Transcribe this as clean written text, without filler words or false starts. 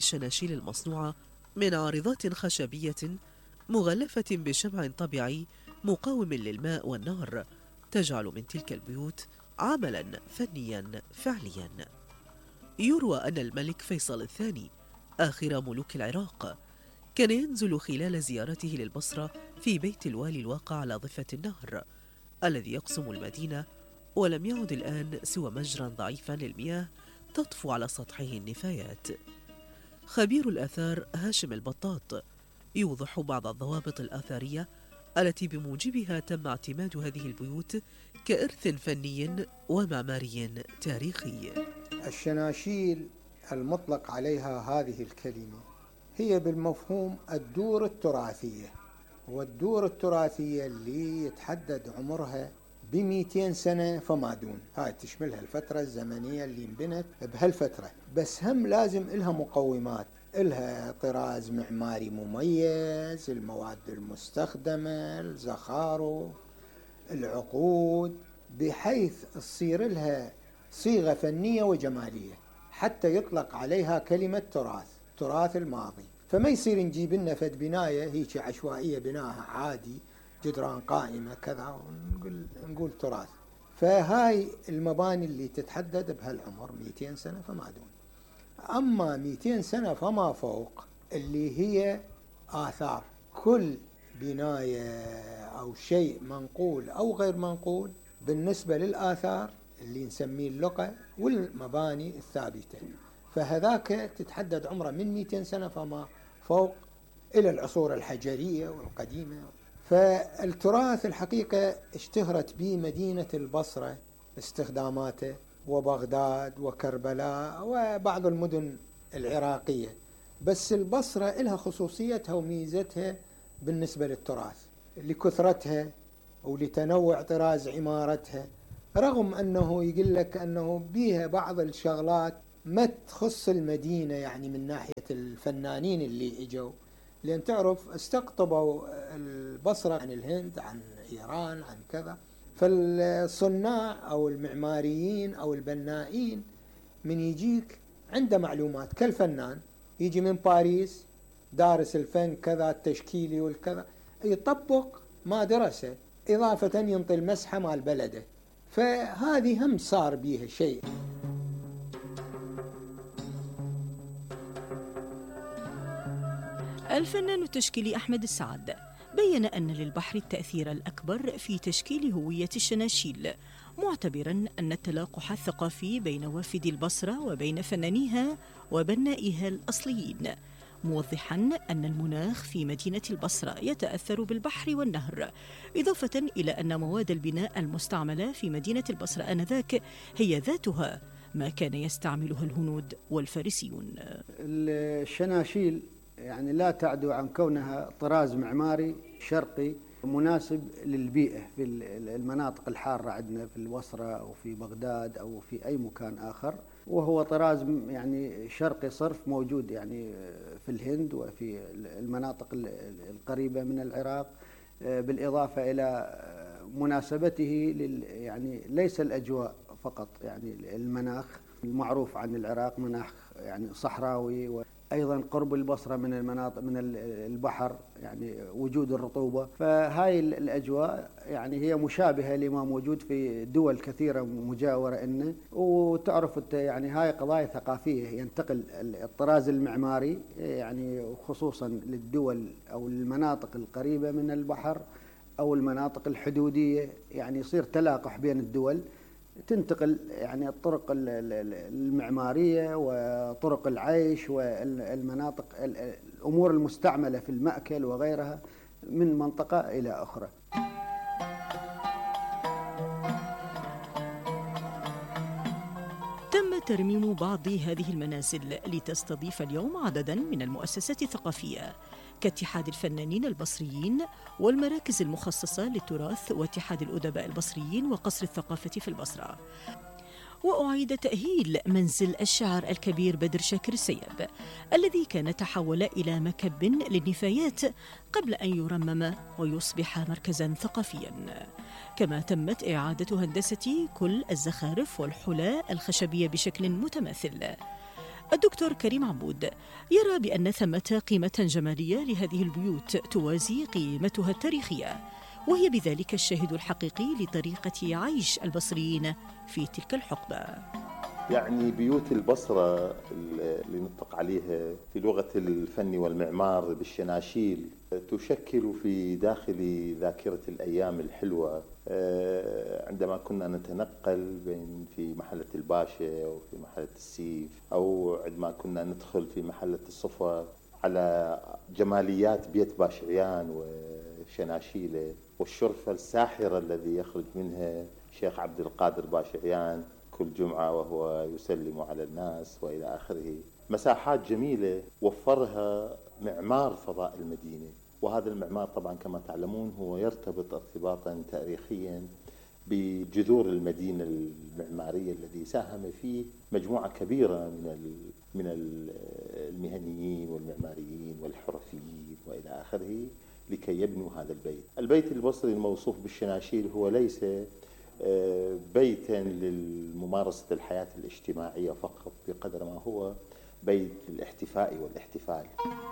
الشناشيل المصنوعة من عارضات خشبية مغلفة بشمع طبيعي مقاوم للماء والنار، تجعل من تلك البيوت عملا فنيا فعليا. يروى أن الملك فيصل الثاني آخر ملوك العراق كان ينزل خلال زيارته للبصرة في بيت الوالي الواقع على ضفة النهر الذي يقسم المدينة، ولم يعد الآن سوى مجرى ضعيفا للمياه تطفو على سطحه النفايات. خبير الآثار هاشم البطاط يوضح بعض الضوابط الآثارية التي بموجبها تم اعتماد هذه البيوت كإرث فني ومعماري تاريخي. الشناشيل المطلق عليها هذه الكلمة هي بالمفهوم الدور التراثية، والدور التراثية اللي يتحدد عمرها ب200 سنة فما دون. هاي تشملها الفترة الزمنية اللي انبنت بهالفترة، بس هم لازم إلها مقومات، إلها طراز معماري مميز، المواد المستخدمة، الزخارف، العقود، بحيث تصير لها صيغة فنية وجمالية حتى يطلق عليها كلمة تراث الماضي. فما يصير نجيب لنا فد بناية هيك عشوائية بناها عادي جدران قائمة كذا ونقول تراث. فهاي المباني اللي تتحدد بهالعمر 200 سنة فما دون. أما 200 سنة فما فوق اللي هي آثار، كل بناية أو شيء منقول أو غير منقول بالنسبة للآثار اللي نسميه اللقى والمباني الثابتة، فهذاك تتحدد عمره من 200 سنة فما فوق إلى العصور الحجرية والقديمة. فالتراث الحقيقة اشتهرت به مدينة البصرة استخداماته، وبغداد وكربلاء وبعض المدن العراقية، بس البصرة لها خصوصيتها وميزتها بالنسبة للتراث لكثرتها ولتنوع طراز عمارتها، رغم أنه يقول لك أنه بيها بعض الشغلات ما تخص المدينة، يعني من ناحية الفنانين اللي اجوا، لأن تعرف استقطبوا البصرة عن الهند عن إيران عن كذا، فالصناع أو المعماريين أو البنائين من يجيك عنده معلومات كالفنان يجي من باريس دارس الفن كذا التشكيلي والكذا، يطبق ما درسه إضافة ينطي المسحة مال بلده، فهذه هم صار بيها شيء. الفنان التشكيلي أحمد السعد بيّن أن للبحر التأثير الأكبر في تشكيل هوية الشناشيل، معتبراً أن التلاقح الثقافي بين وافد البصرة وبين فنانيها وبنائها الأصليين، موضحاً أن المناخ في مدينة البصرة يتأثر بالبحر والنهر، إضافة إلى أن مواد البناء المستعملة في مدينة البصرة آنذاك هي ذاتها ما كان يستعملها الهنود والفارسيون. الشناشيل يعني لا تعدو عن كونها طراز معماري شرقي مناسب للبيئة في المناطق الحارة عندنا في البصرة أو في بغداد أو في أي مكان آخر، وهو طراز يعني شرقي صرف موجود يعني في الهند وفي المناطق القريبة من العراق، بالإضافة إلى مناسبته يعني ليس الأجواء فقط، يعني المناخ المعروف عن العراق مناخ يعني صحراوي، أيضا قرب البصرة من المناطق من البحر، يعني وجود الرطوبة، فهاي الأجواء يعني هي مشابهة لما موجود في دول كثيرة مجاورة إنه. وتعرف يعني هاي قضايا ثقافية، ينتقل الطراز المعماري يعني خصوصا للدول أو المناطق القريبة من البحر أو المناطق الحدودية، يعني يصير تلاقح بين الدول، تنتقل يعني الطرق المعمارية وطرق العيش والمناطق الأمور المستعملة في المأكل وغيرها من منطقة إلى أخرى. تم ترميم بعض هذه المنازل لتستضيف اليوم عددا من المؤسسات الثقافية كاتحاد الفنانين البصريين والمراكز المخصصة للتراث واتحاد الأدباء البصريين وقصر الثقافة في البصرة. وأعيد تأهيل منزل الشاعر الكبير بدر شاكر السيب الذي كان تحول إلى مكب للنفايات قبل أن يرمم ويصبح مركزا ثقافيا. كما تمت إعادة هندسة كل الزخارف والحلى الخشبية بشكل متماثل. الدكتور كريم عبود يرى بأن ثمة قيمة جمالية لهذه البيوت توازي قيمتها التاريخية، وهي بذلك الشاهد الحقيقي لطريقة عيش البصريين في تلك الحقبة. يعني بيوت البصرة اللي نطلق عليها في لغة الفن والمعمار بالشناشيل تشكل في داخل ذاكرة الأيام الحلوة عندما كنا نتنقل بين في محلة الباشا أو في محلة السيف، أو عندما كنا ندخل في محلة الصفا على جماليات بيت باشعيان وشناشيله والشرفة الساحرة الذي يخرج منها شيخ عبد القادر باشعيان كل جمعة وهو يسلم على الناس وإلى آخره. مساحات جميلة وفرها معمار فضاء المدينة، وهذا المعمار طبعا كما تعلمون هو يرتبط ارتباطا تاريخيا بجذور المدينة المعمارية الذي ساهم فيه مجموعة كبيرة من المهنيين والمعماريين والحرفيين وإلى آخره لكي يبنوا هذا البيت. البيت البصري الموصوف بالشناشيل هو ليس بيتا للممارسة الحياة الاجتماعية فقط بقدر ما هو بيت الاحتفاء والاحتفال.